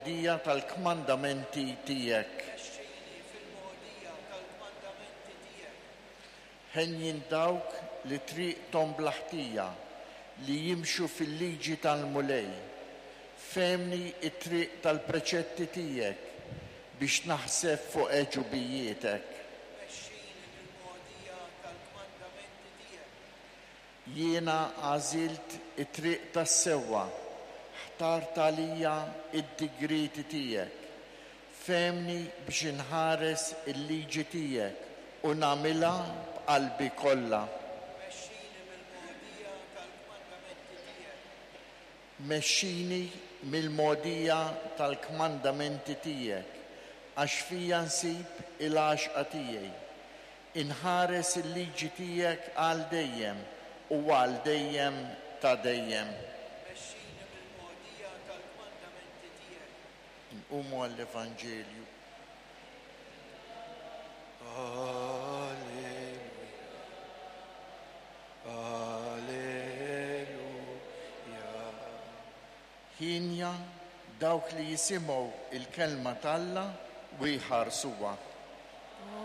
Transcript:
Dija tal-kmandamenti tiegħek. Mexxini fil-mogħdija tal-kmandamenti tiegħek. Henjin dawk li triqthom bla ħtija, li jimxu fil-liġi tal-Mulej. Fehmni t-triq tal-preċetti tiegħek, biex naħseb fuq għeġubijietek. Mexxini mill-mogħdija tal-kmandamenti tiegħek. Jiena għażilt it-triq tas-sewwa, ħtart għalija d-digrieti tiegħek. Fehmni biex inħares il-liġi tiegħek u nagħmilha b'qalbi kollha. Mexxini mill-mogħdija tal-kmandamenti tiegħek. Mexxini mill-mogħdija tal-kmandamenti tiegħek, għax fija nsib il-għaxqa tiegħi. Inħares il-liġi tiegħek għal dejjem u għal dejjem ta' dejjem. Mexxini mill-mogħdija tal-kmandamenti tiegħek. Inqumu għall-Evanġelju. Alleluja, Alleluja. Hienja dawk li jisimgħu l-kelma t'Alla u jħarsuha.